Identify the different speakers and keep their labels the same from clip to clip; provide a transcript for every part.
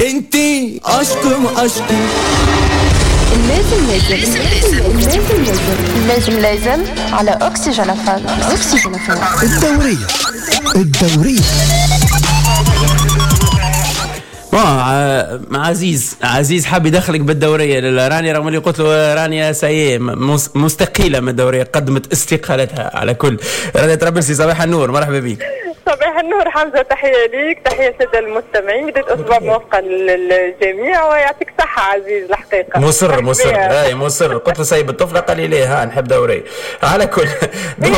Speaker 1: انتي اشكم اشكم.
Speaker 2: لازم لازم لازم لازم لازم لازم على اكسجين فام، اكسجين فام.
Speaker 1: الدورية الدورية.
Speaker 3: bon عزيز، عزيز حاب يدخلك بالدوريه لرانيا، رغم اللي قلت له رانيا ça y est مستقيله من الدوريه، قدمت استقالتها. على كل، رانيا طرابلسي، صباح النور، مرحبا بك.
Speaker 4: صباح النور حمزه، تحية ليك، تحية للسادة المستمعين، بداية اسبوع موفقة للجميع ويعطيك صحة عزيز الحقيقه.
Speaker 3: مصر مصر، اي مصر. قلت له سيب الطفله، قال لي ليه، ها نحب دورية. على كل
Speaker 4: لا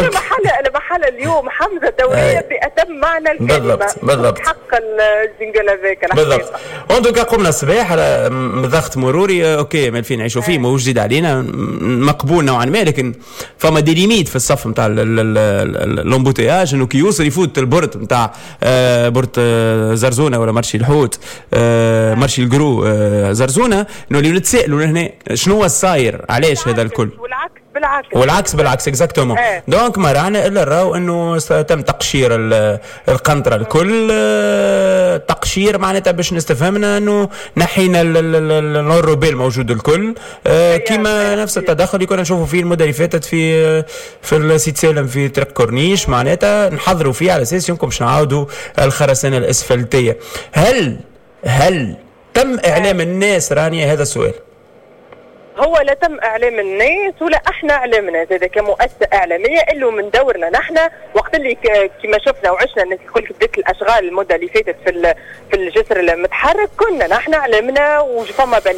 Speaker 4: محل اليوم حمزه، دورية باتم معنى الكلمه.
Speaker 3: بالضبط بالضبط.
Speaker 4: حق ال jingle هذاك.
Speaker 3: بالضبط. en tout cas قمنا الصباح على ضغط مروري، OK مالفين نعيشوا فيه، ماهوش جديد علينا، مقبول نوعا ما، لكن فما des limites في الصف نتاع l'embouteillage، انه كي يوصل يفوت ال porte نتاع porte زرزونه ولا marché الحوت، marché ال gros زرزونه، نوليو نتسائلوا هنا شنو الصاير، علاش هذا الكل؟
Speaker 4: والعكس بالعكس.
Speaker 3: والعكس بالعكس، exactement. donc ما رانا الا راو انه تم تقشير القنطرة الكل، تقشير معناتها باش نستفهمنا انه نحينا l'enrobé الموجود الكل، كيما نفس التدخل اللي كنا نشوفوا فيه المدة اللي فاتت في السيد سالم في طريق كورنيش، معناتها نحضروا فيه على اساس يمكن باش نعاودوا الخرسانه الاسفلتيه. هل تم اعلام الناس رانيا؟ هذا السؤال.
Speaker 4: هو لا تم اعلام الناس ولا احنا اعلامنا زاد كمؤسسة اعلاميه، الا من دورنا نحن وقت اللي كما شفنا وعشنا الناس الكل بدات الاشغال المدة اللي فاتت في الجسر المتحرك، كنا نحن اعلمنا وفما